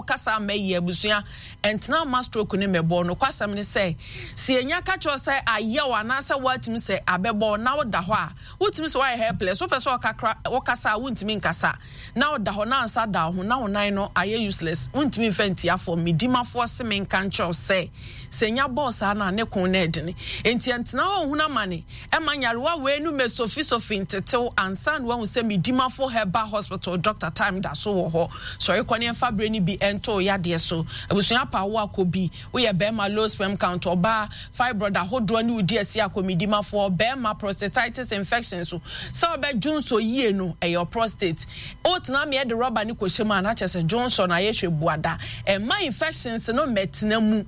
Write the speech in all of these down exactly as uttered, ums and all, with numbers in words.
Wokasa mma yie abusua ɛntena mma stroke ne mmɛbɔ. Nokwasɛm ne sɛ, sɛ yɛnya ka kyerɛ wo sɛ ayɛ wo anaasɛ woatumi sɛ abɛbɔ wo na woda hɔ a, wotumi sɛ woayɛ helpless. Wopɛ sɛ ɔkakra wokasa a wontumi nkasa na woda hɔ na nsa da wo ho na wo nan no ayɛ useless. Wontumi mfa ntia fam. Me dimafoɔ se menka nkyerɛ wo sɛ, sɛ nya bɔɔ saa no a ne ko no ɛdene. Enti ɛntena hɔ nhunu amane ɛma nyarewa wei no mɛsofisofi ntetew ansa na wahu sɛ Medimafo Herbal Hospital Doctor Time da so wɔ hɔ. Sɔre kɔ ne ɛmfa berɛ no bi ɛnto wo yadeɛ so. Abusua pa wo akɔ bi. Woyɛ bɛrima low sperm count, ɔbaa fibroid ahodoɔ ne wo di asi akɔ Medimafoɔ, bɛrima prostatitis infection so. Sɛ ɔbɛ dwonsɔ yie no ɛyɛ prostate. Wotena meɛ de rɔba no kɔhyɛ mu a na kyerɛ sɛ dwonsɔ no ayɛ hwɛ buada. Ɛmma infections no mmɛtena mu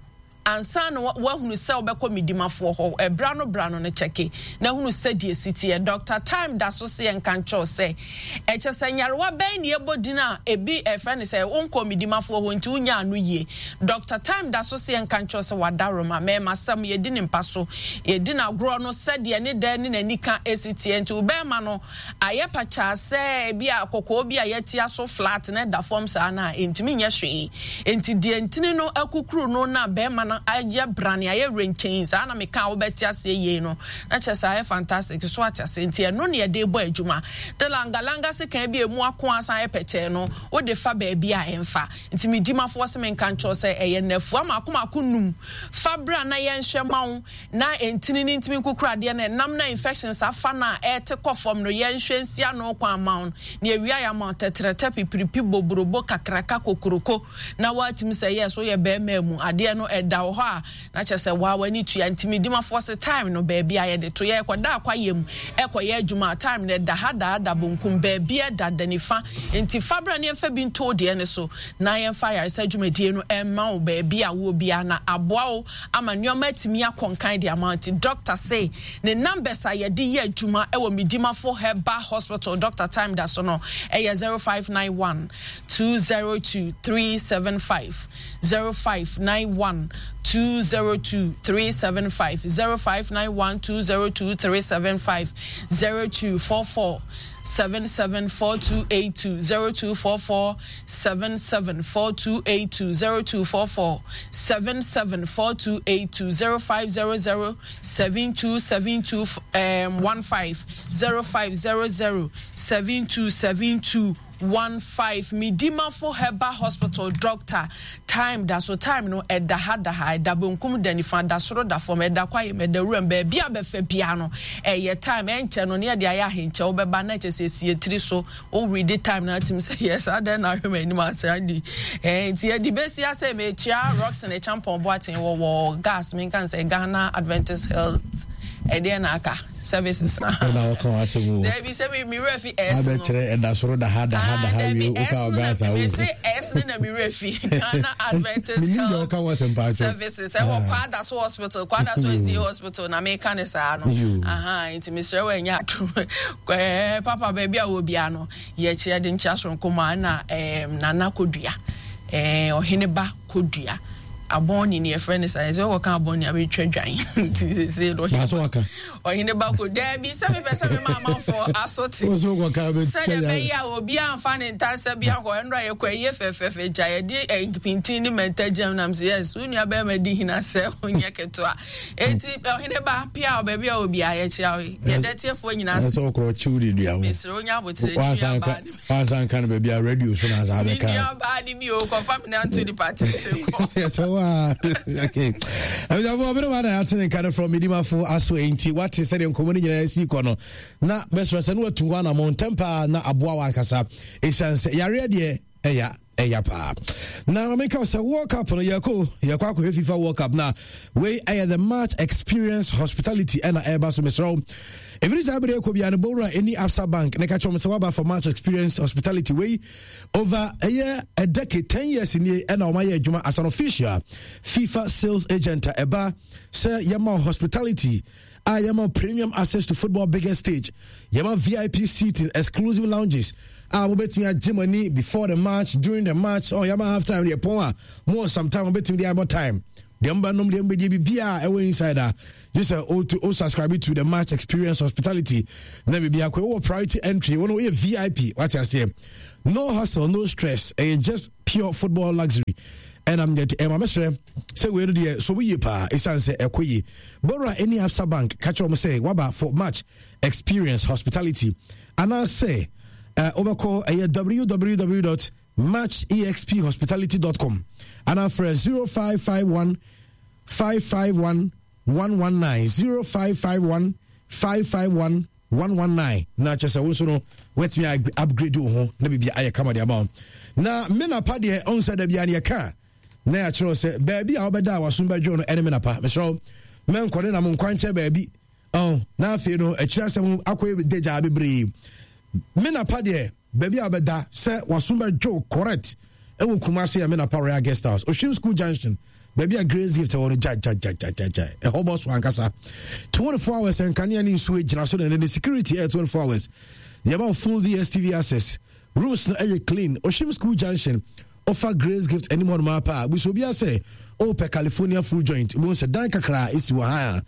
ansa na woahunu sɛ wobɛkɔ medimafoɔ hɔ. Ɛbra no bra no no kyɛke na hunu sɛdeɛ ɛsi teɛ. Doctor Time da so se yɛnka nkyerɛ wo sɛ ɛkyɛ sɛ nyarewa bɛn ne ɛbɔ din a ebi ɛfrɛ no sɛ wonkɔɔ medimafoɔ hɔ nti wonya ano yie. Doctor Time da so se yɛnka nkyerɛ wo sɛ wadaroma mɛɛmasɛm yɛdi ne mpa so yɛdi no agorɔ no sɛdeɛ ne dɛ ne n'anika ɛsi teɛ nti wo bɛɛma no ayɛ pakyaa sɛ ebi a kɔkɔɔ bi a yɛatia so flat na ɛda fam saa no a, ɛntumi nyɛ hwee. Enti deɛ ntini no akukuru no na bɛrima no ayɛ brane, ayɛ wrenkyɛn saa na meka a wobɛte aseɛ yie no, na kyerɛ sɛ ayɛ fantastic so ate aseɛ. Nti ɛno na yɛde bɔ adwuma. De langalanga sekan bi a ɛmu ako asan ayɛ pɛkyɛɛ no, wode fa baabi a ɛmfa. Nti me dimafoɔ se menka nkyerɛ wo sɛ ɛyɛ nnafua mako mako num. Fa bra na yɛnhwɛ ma wo. Na ntini no ntumi nkukuru adeɛ no, ɛnam na infections afa no a ɛrete kɔ fam no, yɛnhwɛ nsi ano kwan mma wo no, na yɛwie a yɛama wo tɛtrɛtɛ, pipiripi, boborobo, kakraka, kokoroko, na woatumi sɛ yes, woyɛ barima mu, adeɛ no ɛda wɔ hɔ a, na kyerɛ sɛ waa w'ani tua. Nti medimafoɔ se time no baabi a yɛde to, yɛrekɔda akwayɛ mu ɛkɔyɛ adwuma a, time no ɛda ha daa da bonkum, baabi ɛda da nifa, nti fa bra na yɛmfa bi nto wo deɛ no so, na yɛmfa ayaresa dwumadie no ɛmma wo baabi a wowɔ biara na aboa wo ama nneɛma atumi akɔ nkan de ama nti doctor se ne numbers a yɛde yɛ adwuma wɔ Medimafo Herbal Hospital Doctor Time da so no ɛyɛ zero five nine one two zero two three seven five zero five nine one two zero two three seven five zero five nine one two zero two three seven five zero two four four seven seven four two eight two zero two four four seven seven four two eight two zero two four four seven seven four two eight two zero five zero zero seven two seven two um, one five zero five zero zero seven two seven two one five Midimafo Herbal Hospital doctor time da so time no ɛda ha da ha ɛda benkum da nifa da soro da fam ɛda kwaeɛ mu ɛda wuram baabi a bɛfɛ bia no ɛyɛ time ɛnkyɛ no ne yɛde ayɛ ahenkyɛ wobɛba na ɛkyɛ sɛ ɛsi etiri so wo read time na atim sɛ yes adɛn na ahwɛ m'anim asra di ɛɛ nti yɛde bɛsi asɛ mekyia Roxon Ekyampɔn Boateng wɔ wɔ gas menka sɛ Ghana Adventist Health ɛdeɛ na aka services na. Ɛna ɔka wɔn asɛm o. Dɛbi sɛ mi mi wura fi S no. Abɛkyerɛ ɛda soro da ha da ha da ha wie o ka ɔga asa o. Mi se S no na mi wura fi Ghana Adventist Health Services ɛwɔ Kwada so hospital Kwada so S D A hospital na mi ka ne saa no. Nti mi srɛ wɔ ɛnyɛ atum ɛɛ papa baabi a wɔ bia no yɛkyerɛ de nkyia soronko ma ɛna ɛɛm Nana Kodua ɛɛ ɔhene ba Kodua. Abɔn ni yɛfrɛ no saa sɛ wɔka abɔn ni abɛtwa dwan nti sese no ɔhene ba ko daabi sɛ mepɛ sɛ mema amanfoɔ aso te sɛdeɛ ɛbɛyɛ a obiaa mfa ne ntansa bi akɔ ɛnora yɛkɔ ɛyɛ fɛfɛfɛ gya yɛde eh, pintin ne mɛnta gyam nam sɛ yes wo nua bɛrima di hina sɛ wonyɛ ketewa enti ɔhene ba pia baabi a obiaa yɛkyia wo yɛda tiefoɔ nyinaa sɛ mesrɛ wonya aboterɛ ne nuabaa ne wansa nka no baabi a radio so na asa bɛka nuabaa ne bi o kɔfa me nanto nipa tete kɔ yɛsɛ wa okay abusuafoɔ ɔbɛrɛ wa na yɛate ne nka no from medimafo aso enti wate sɛdeɛ nkɔmmɔ no nyinaa si kɔ no na bɛsrɛ sɛ ne watu hɔ anammɔ ntɛm paa na aboa wɔ ankasa ɛsiane sɛ yareɛ deɛ ɛya ɛya paa na meka sɛ World Cup no yɛkɔ yɛkɔ akɔhwɛ FIFA World Cup na wei ɛyɛ the match experience hospitality ɛna ɛba so mesrɛ wo ɛfiri saa berɛ ɛkɔ bia no bɔwura ɛni Absa Bank ne ka kyerɛ m sɛ woaba for match experience hospitality wei over ɛyɛ a decade ten years nie ɛna ɔmayɛ adwuma as an official FIFA sales agent a ɛba sɛ yɛma hospitality a yɛma premium access to football biggest stage, yɛma V I P seating, exclusive lounges a mobɛtumi agye mo ani before the match, during the match. Oh, yɛma half time deɛ pɔn a mo some time mobɛtumi de abɔ time. Deɛ mbɛnom, deɛ mbɛdie, biribiaa ɛwɔ inside a gye sɛ o o subscribe to the Match Experience Hospitality na biribi akɔ. Wowɔ priority entry, wɔn woyɛ V I P, wate aseɛ? No hustle, no stress, ɛyɛ just pure football luxury. Ɛnam deɛ ɛma mɛsrɛ sɛ wei no deɛ so yie paa, ɛsiane sɛ ɛkɔ yie. Bɔwura ɛne Absa Bank, ka kyerɛ wɔn sɛ waba for Match Experience Hospitality, anaasɛ uh, wobɛkɔ ɛyɛ W W W match exp hospitality dot com anaa frɛ zero five five one five five one one one nine, zero five five one five five one one one nine. Na kyerɛ sɛ wo nso no woatumi upgrade wo ho na biribi ayɛ kama de ama wo. Na me napa deɛ, ɔn sɛ da bia ne yɛka na yɛakyerɛ wo sɛ baabi a wobɛda a wasom bɛdwo no ɛne me napa. Mesrɛ wo, mɛnkɔ ne nam nkwankyɛ baabi ɔn na afei no akyiri asɛm akɔyɛ dagyaa bebree. Me napa deɛ, baabi a wobɛda sɛ wasom bɛdwo correct ɛwɔ Kumase a, me napa Royal Guest House, Oshim School Junction, baabi a Grace Gift ɛwɔ no, gyagyagyagyagya ɛhɔ bɔ so ankasa. twenty-four hours nkanea ne nsuo gyina so na ne security ɛyɛ twenty-four hours. Yɛma full D S T V access. Rooms no ɛyɛ clean. Oshim School Junction, ɔfa Grace Gift anim hɔ nom apa a, busu obi asɛ ɔpɛ California Food Joint, ebi sɛ dan kakra esi wɔ ha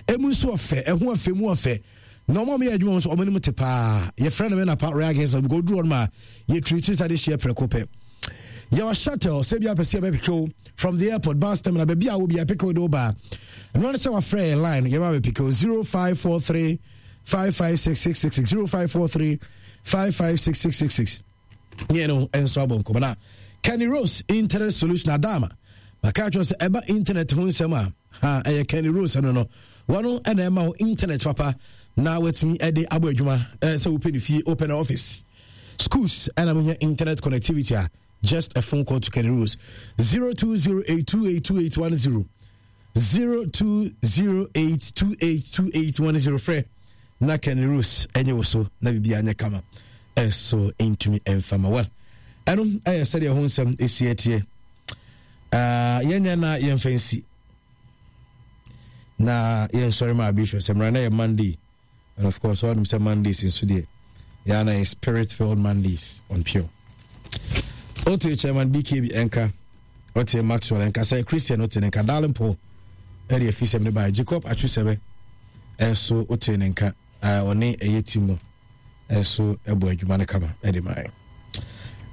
a emu nso ɔfɛ, ɛho ɔfɛ mu ɔfɛ, na ɔmo a ɔmo yɛ adwuma nso ɔmo anim te paa. Yɛfrɛ no Menapa Royal Guest House because oduru hɔ nom a, yɛtirikyi sa de hyia prɛko pɛ. Yɛwɔ shuttle sɛ bi apɛ sɛ yɛbɛpick wo from the airport, bus terminal, baabi a wo bi apick wo de wo ba. Ɛno ne sɛ wafrɛ yɛ line, yɛba bɛpick wo zero five four three five five six six six six, zero five four three five five six six six six. Yɛn no nso abɔ nkɔmɔ na Kenny Rose Internet Solution adama maka kyerɛ sɛ ɛba internet ho nsɛm a ha ɛyɛ Kenny Rose no no wɔno ɛna ɛma wo internet papa na watumi ɛde abɔ adwuma. Ɛɛ sɛ wopɛ ne fie, wopɛ ne office, schools, ɛna mohia internet connectivity a, just a phone call to Kenny Rose, zero two zero eight two eight two eight one zero, zero two zero eight two eight two eight one zero. Frɛ na Kenny Rose ɛnyɛ wo so na biribi anyɛ kama ɛnso ntumi ɛmfama. Well, ɛno ɛyɛ sɛdeɛ ho nsɛm ɛsi ɛteɛ. Yɛnyɛ na yɛmfa nsi na yɛnsɔre ma abisho sɛ mmara na yɛ Monday, and of course ɔnom sɛ Mondays nso deɛ yɛa na yɛ spirit filled Mondays on Pure. Wote Chairman B K B ɛnka, wote Maxwell ɛnka sɛ Christian, wote ne nka Darling Paul ɛde afi sɛm ne baa Jacob Atwesɛbɛ ɛnso, wote ne nka ɔne ɛyɛ team no ɛnso ɛbɔ adwuma no kama ɛde maa.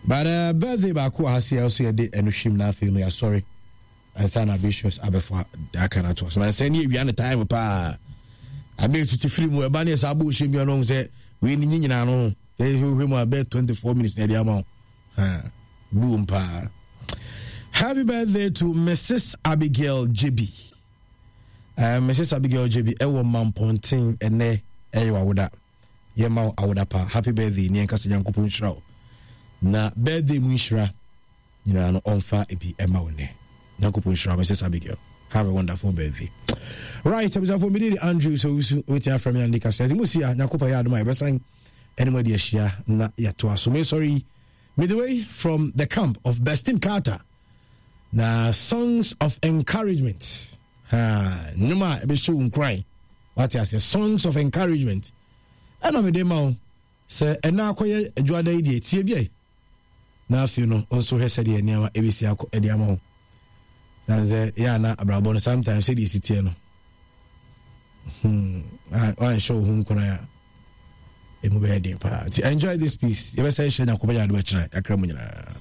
But uh, birthday baako wɔ ha se ɛwɔ so yɛde ɛno hwim na afei no yɛasɔre ansa na Abicius abɛfo aka no atoa so. Na nsɛ ne yɛwia no time paa abɛ tuti firi mu ɛba ne yɛsɛ abɔ ɔhyɛ mmia no ɔhu sɛ wei ne nyinaa no ho yɛhwɛ mu a bɛyɛ twenty-four minutes na ɛde ama wo buom paa. Happy birthday to Missus Abigail Jebi. uh, Missus Abigail Jebi ɛwɔ Mampɔnten, ɛnɛ ɛyɛ wawoda. Yɛma wo awoda pa, happy birthday, ne yɛnka sɛ Nyankopɔn nhyira wo na birthday mu nhyira nyinaa no ɔmfa ebi ɛma wo nnɛ. Nyankopɔn nhyira wo, Missus Abigail. Have a wonderful birthday. Right, abusuafo, mede de Andrew sɛ wusu wobɛtumi afrɛ me Ande Kasa. Nti mu si a Nyankopɔn yɛ adom a, yɛbɛsan ɛne mu adi ahyia na yɛatoa so. Mesɔre yi mede wei from the camp of Bestin Carter na songs of encouragement, ha nnwom a ɛbɛhyɛ wo nkuran, wate ase? Songs of encouragement ɛna mede ma wo sɛ ɛna akɔyɛ adwuada yi deɛ, tie bi na afei no nso hwɛ sɛdeɛ nneɛma ɛbɛsi akɔ ɛde ama wo. Na sɛ yɛ ana abrabɔ no sometimes sɛdeɛ ɛsi teɛ no, hmm, wanhyɛ wo ho nkuran a, ɛmu bɛyɛ den paa. Nti enjoy this piece. Yɛbɛsɛ hyɛ Nyankopɔn yɛ adom akyerɛ yɛakra mu nyinaa.